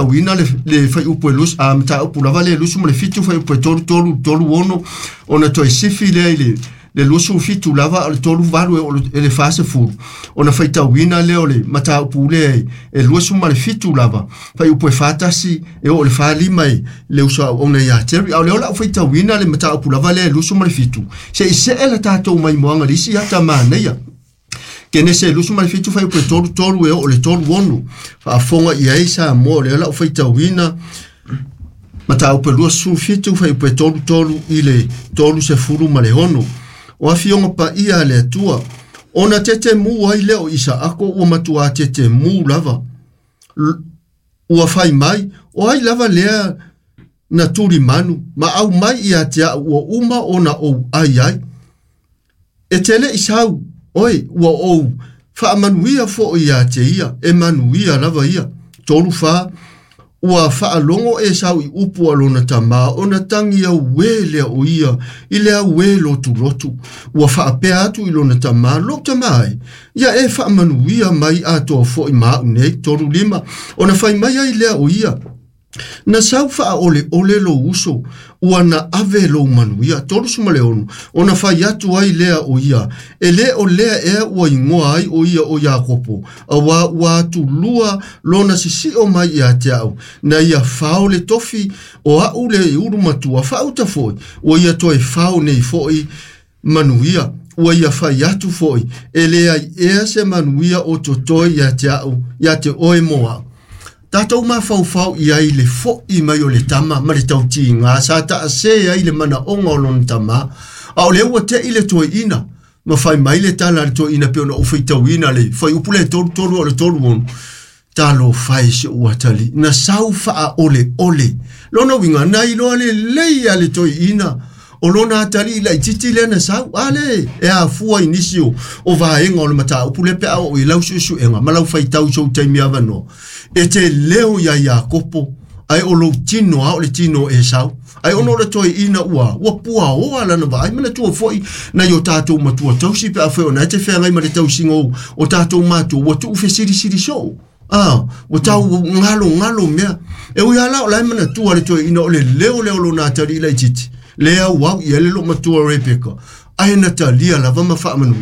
Uina le fuaiupu e mataupu lava le 27 fuaiupu e 33 36 ona toe sifi lea i le 27 lava o le 38 e le 40 ona faitauina lea o le mataupu lea e 27 lava fuaiupu e 41 e oo i le 45 i le uso auauna ia Terry. A o lea o le a ou faitauina le mataupu lava lea e 27 se i see le tatou maimoaga i le isi ata manaia. Kenese 27 fuaiupu e 33 e oo i le 36 faafofoga i ai Samoa o lea o le a ou faitauina mataupu e 27 fuaiupu e 33 i le 36. O afioga paia a le Atua, ona tetemu ai lea o Isaako ua matuā tetemu lava. Ua fai mai, o ai lava lea na tulimanu ma aumai ia te au ua uma ona ou ai ai. E te le i sau, oe, ua ou faamanuia foi ia te ia, e manuia lava ia. 34, ua faalogo Esau i upu a lona tamā, ona tagi auē lea o ia i le auē lotulotu. Ua faapea atu i lona tamā, lou tamā e, ia e faamanuia mai atoa foi ma au nei. 35, ona fai mai ai lea o ia, na sau faaoleole lou uso, ua na ave lou manuia. 36, ona fai atu ai lea o ia, e lē o lea ea ua igoa ai o ia o Iakopo, auā ua atulua lona sisio mai ia te au, na ia fao le tofi o au le ulu matua, faauta foi, ua ia toe fao nei foi manuia. Ua ia fai atu foi, e leai ea se manuia o totoe ia te au, ia te oe mo au. Tatou mafaufau i ai i le fo'i mai o le tama ma le tautiga sa taasē ai le manaoga o lona tamā, a o lea ua te'i le toeaina ma fai mai le tala a le toeaina pei ona ou faitauina le fuaiupu lea e 33 o le 36, Talofa e si ou atalii, na sau faaoleole. Lona uiga, na iloa lelei lava le toeaina o lona atalii laitiiti lea na sau. A lea e afua i nisi o vaega o le mataupu lea pe a oo i lau suesuega ma lau faitau i sou taimi avanoa. E te leo iā Iakopo, ae o lou tino lava o le tino o Esau. Ae ona o le toeaina ua puaoa lana vaai, manatua foi nai o tatou matua tausi pe afai o na e te feagai ma le tausiga o tatou matua, ua tuufesilisili soo. Ua tau galogalo mea. E ui lava la o la e manatua le toeaina o le leo lea o lona atalii laitiiti, lea auau i ai le loomatua Rebeka, ae na talia lava ma faamanuia.